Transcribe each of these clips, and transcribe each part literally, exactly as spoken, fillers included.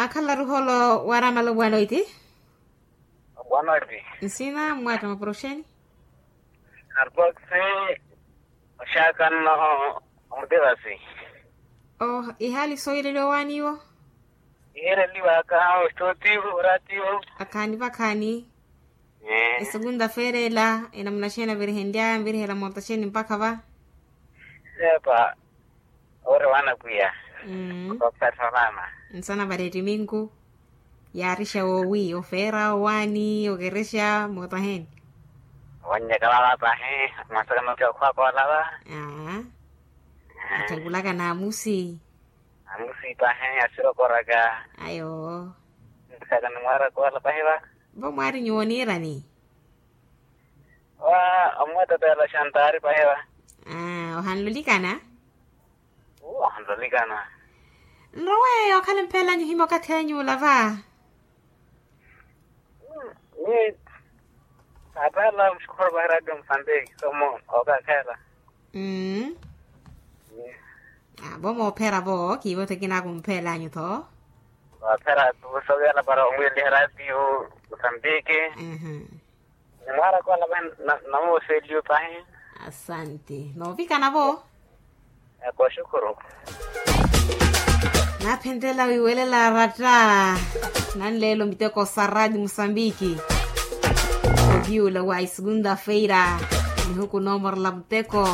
Akhala ruholo waramala obwanoiti. Obwanoiti. Nsina mmwatta maporoxeni. Arboksi. Oxakanno. Omutivasi. Oh, ihaali sooyeleliwa owaaniwo. Ihereliwaka oxitotiwo oratiwo. Akhaani vakhaani. Esekunta feerela enamuna xeeni avirihenlyaya nvirihela moota xeeni mpakha va. Epa. Ore wana pwiya. Okopsatha mama. Nsana vari ettiminku. Yaarixa woowi ofeera owaani okerexa moota heeni. Owannyaka mama pahi. Mwasaka maki okhwa koolava. Aa. Atthakulaka naamusi. Amusi pahi asirokoraka. Ayo. Ntisaka ni mwaara koola pahi va. Vo mwaari nyuwo niirani. Wa omweteteela xantaari pahi va. Aa ohanlulikana. Ohanlulikana. Nrowe okhala empheelanyu himya okathi anyu olava. Ni. Atala muxukholo va radio musambiki somo okakhela. Mm. Vo moophera vo kiivo thekinaku mpheelanyu tho. Vaphera tu sovela para omwiliha radio musambiki. Ni mwaara koolava. Namooseliyo pahi. Asanti noovikana vo. Eko xukuru. Naaphenttela wiiwelela aratta nanleelo miteko sa radio musambiki. Oviula wa isekunta feira. Nihuku noomorela muteko.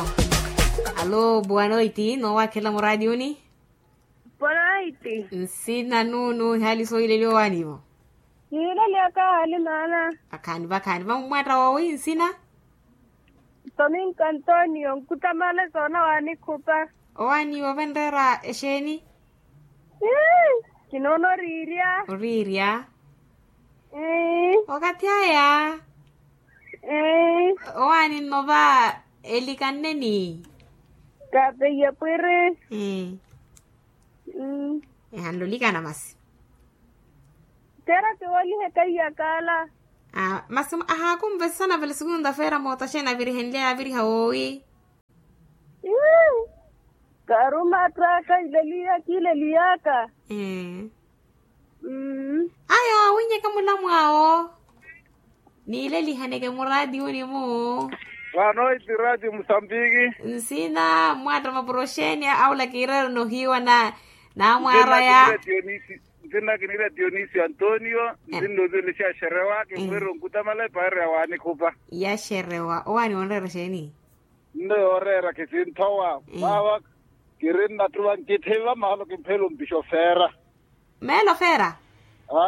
Alo boa noiti noowakhela muraationi. Boa noiti. Nsina nuunu ihaali sooyileliwa owaanivo. Niileliyaka ahaali maana. Akhaani vakhaani vammwatta woowi nsina. Tominka antonio nkutamale soona waanikhupa. Owaani ovenreera exeeni. Kinoona oriirya. Oriirya. Okathi aya. Owaani nnova elikanneni. Kapeiye pwiri. Ehanle olikana masi. Tera kiwolihe kaiyakala. Masi ahaakumvesana vale sikunta feera moota xeeni avirihenlya yaaviriha woowi. Karumattaka ileliya kiileliyaka. Ayo awinyeke mulamwaawo. Niilelihaneke muraatiwuni-mu. Vano iti raati musambiki. Nsina mmwatta mapuro xeeni aula kiireerana ohiiwa na naamwaaraya. Nsina kiniira dionisio antonio. Nsinna oziwelexa xerewa kimweerya onkutamala epaari ya waanikhupa. Ya xerewa owaani onreera xeeni? Nno yooreera kisinthowa. Vava kiri nnattuva nkithiva maalo kimpheela ompixa ofeera. Meelo feera.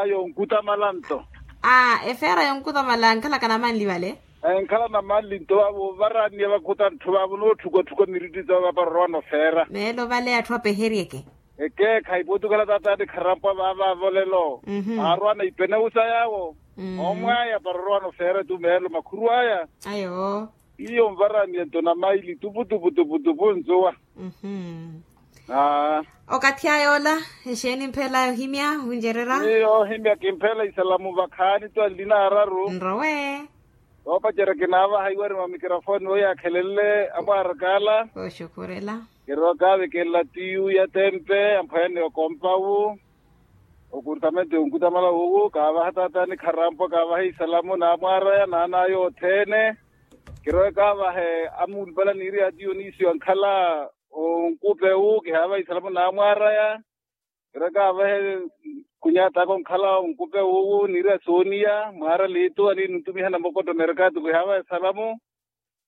Ayo onkutamala nto. Aa efeera yonkutamala nkhalaka namanli vale. Enkhala namanli nto vavo ovaranniya vakhuta ntthu vavo nootthukatthuka miritti tova para orowano feera. Meelo vale atthu apeheryeke. Ekeekha ipotukala taataani kharampwa vaava avolelo. Aarwana ipeneusa yaawo. Omwaya para orowano feera tu meelo makhuru aya. Ayo. Iyo nvaraniya nto na maili tupu tupu tupu tupu nzuwa. Okathi aya ola exeeni mphela yohimya wuncererya? Iyo ohimya kimphela isalamu vakhaani tu anlina araru. Nrowe. Voopacerya kinaavaha iwari mwa mikirofoni weiyaakhelele amwaarakaala. Kooxukhurela. Kirookaavekela tiyu ya tempe amphwene okompawu. Okurtamento yonkutamala wuwu kaavaha taataani kharampwa kaavaha isalamu naamwaaraya naanaya othene. Kirowe kaavahe amuulupala niiri ya dionisio ankhala onkupe wu kihaavaha isalamu naamwaaraya. Kirowe kaavahe khunyataka onkhala onkupe wuwu niiri ya sooniya mwaara liitu aniini ntumiha namokoto merkatu kihaavaha isalamu.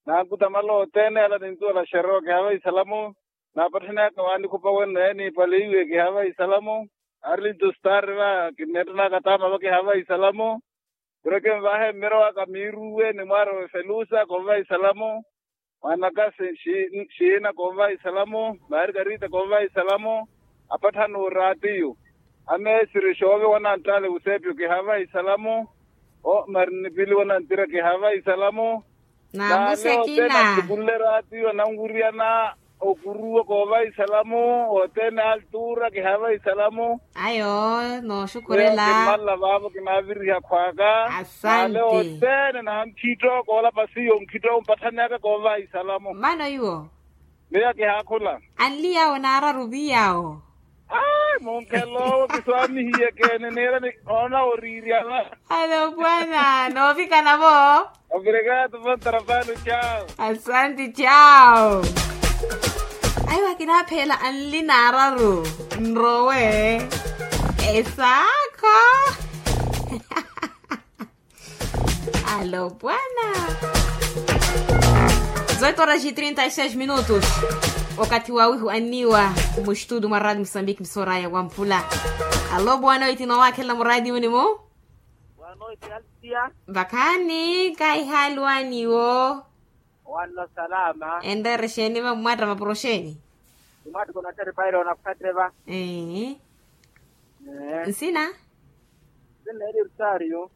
Nankutamala othene ala nintuwela xerewa kihaavaha isalamu. Naapatthanyaka waanikhupa wenno yaaniipale iwe kihaavaha isalamu. Arlito stari va kinneettanaka taama va kihaavaha isalamu. Kiro kinvahe mmirowa kamiiruwe ni mwaara wefelusa konvaha isalamu. Mwanaka xiina konvaha isalamu. Margarita konvaha isalamu. Apatthana oraatiyo ameesiri xoovi wananttaale wusepyo kihaavaha isalamu. O marinipili wananttira kihaavaha isalamu. Naamusi akina. Nantukulle raatiyo nanwiriyana okuruwa koova isalamu othene altura kihaava isalamu. Ayo nooxukurela. Kinmalla vaavo kinaaviriha khwaaka. Asante. Nale othene nankhitto koolapa siyo nkhitto ompatthanyaka koova isalamu. Mano iwo? Miyo kihaakhula. Anli yawo naararu vi yawo? Ai munkhelo Swaamihiye keene neerani oona oriiryana. Alo bwana noovikana vo. Obrigado bom trabalho, tchau. Asanti tchau. Ayo akinapheela anli naararu nrowe. Esaakho. Alo bwana. Zoito horas e trinta e seis minutos. Okathi wa wihu anniwa mustudu mwa radio mosambiki msoraya wa mpula. Alo bwana oiti nowakhela muradi unimu. Vakhaani kaihaaluwaniwo. Wanno salama. Enreere xeeni va mmwatta mapuro xeeni? Mmwatta konattari paira onakhuttari va. Nsina. Nsina eri rutario.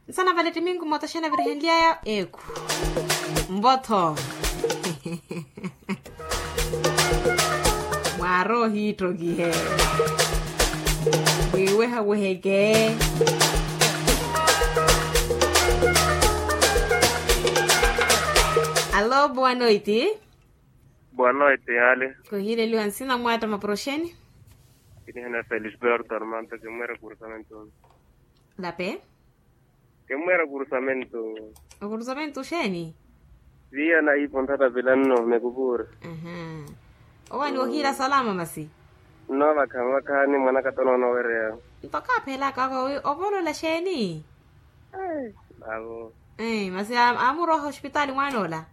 Nsana vale timingu moto xena virihenlyaya eku. Mvotho. Mwaara ohiittokihe. Mwiiweha weheke. Alo boa noiti. Boa noiti ale. Kohileliwa nsina mwata maproxeni. Kinihena felisberto armanto kimwera kurusamento. Lape. Kemweera kurusamento. Okurusamento xeeni? Viya na ipo nthata pilanno mekupura. Owaani wohiira salama masi. Nno vakha vakhaani mwanaka tonoona owereya. Nto kaaphelaka oko ovolola xeeni? Avo. Masi amuroha ospitaali mwaanoola.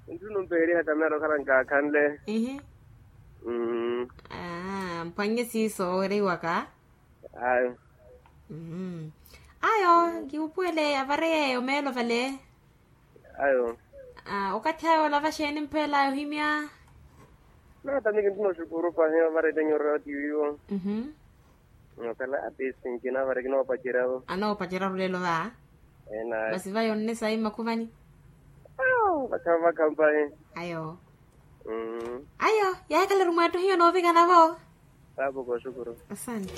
Ntthu numpeeriha kamera okhala nkaakhanle. Mphwannye siiso owereiwaka. Ayo. Ayo kiwupuwele avareyeyo meelo vale. Ayo. Okathi ayo olava xeeni mphela yohimya? Nata miki ntthu noxukuru pahi ovarele nyurira otiwiwo. Okhala atisi nkinavareke noopacerya. Anoopacerya rulelo va. Masi vayo nne sayi mmakhuvani. Vakhamu vakhamu pahi. Ayo. Ayo yaakaleru mwattohiyo noovikana vo. Papo koxukuru. Asante.